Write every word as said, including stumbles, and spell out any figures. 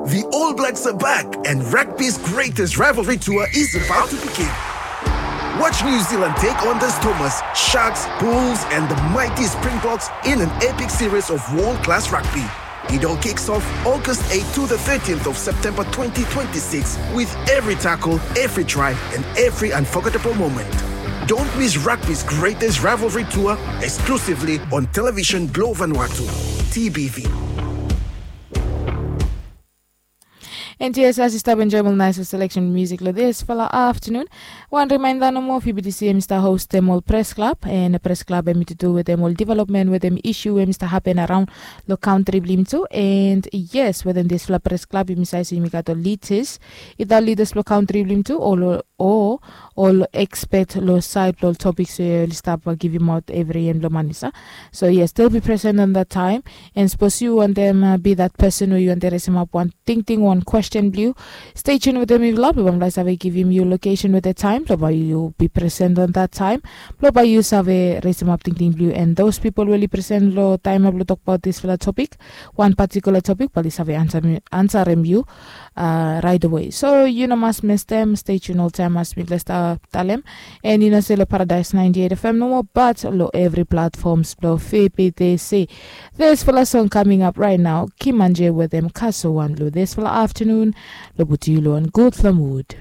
The All Blacks are back, and rugby's greatest rivalry tour is about to begin. Watch New Zealand take on the Stormers, Sharks, Bulls, and the mighty Springboks in an epic series of world class rugby. It all kicks off August eighth to the thirteenth of September twenty twenty-six, with every tackle, every try, and every unforgettable moment. Don't miss rugby's greatest rivalry tour, exclusively on television Globe Vanuatu, T B V. And yes, as you stop enjoying nice selection music lo this fella afternoon. One reminder no more, F B T C em start host them all press club, and a press club em to do with them all development with them issue em start happen around lo country blim too. And yes, within this fella press club, you say you got the leaders, either leaders lo country blim too, or lo- or all expert lo side lo topics we you start uh, give him out every end lo manisa. So yes, they'll be present on that time. And suppose you want them uh, be that person who you want to raise him up one thing thing one question blue. Stay tuned with them if love. Bam lai save give him your location with the time. Blo ba you be present on that time. Blo ba you save raise him up thing thing blue. And those people really present lo time up lo talk about this fella topic, one particular topic, bali save answer me answer him you uh, right away. So you know must miss them. Stay tuned all time as we bless talem. And you know say lo Paradise ninety-eight F M no more, but lo every platforms blo F B T C. This fella song coming up right now. Kimanje with them Kaso one lo this fella afternoon. Lo buti you lo on good fella mood.